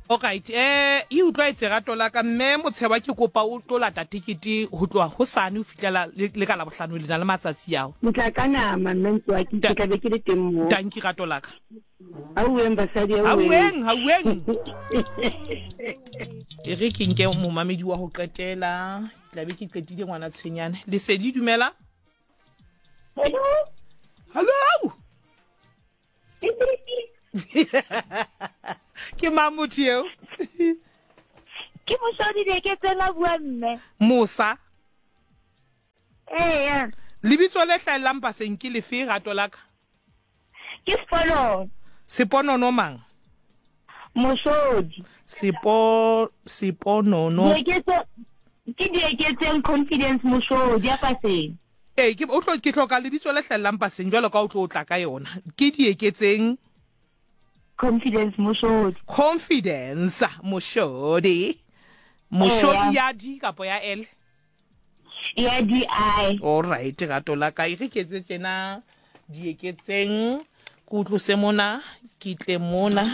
Alright, eh e utlwaetse rato la ka mme Motsheba ke kopa o tlo lata tekete ho tloha hosane ho fihlela le ka Labohlano le na le matsatsi ao. Ke tla ka nama mme Ntswaki, ke tla be ke le teng moo. Tanki rato la ka. Auweng basadi auweng. Auweng, auweng. E re ke nke momamedi wa ho qetela, ke tla be ke qetile ngwana tshwenyane. Lesedi dumela. Hello. Hello. Ke mang motho eo? Ke mosadi Dieketseng a bua mme. Mosa. Eya. Lebitso le hlahellang paseng ke lefe rato la ka? Ke Seponono. Seponono mang? Mosodi. Sepo Seponono. Dieketse ke Dieketseng Confidence Mosodi ya paseng. Ee, ke o tlo ke hloka lebitso le hlahellang paseng jwalo ka o tlo tla ka yona. Ke Dieketseng Confidence Moshodi. Confidence Moshodi. Moshodi ya D kapo ya L? Ya D I. All right, rato la ka e re ke etse tjena Dieketseng ke utlose mona ke tle mona.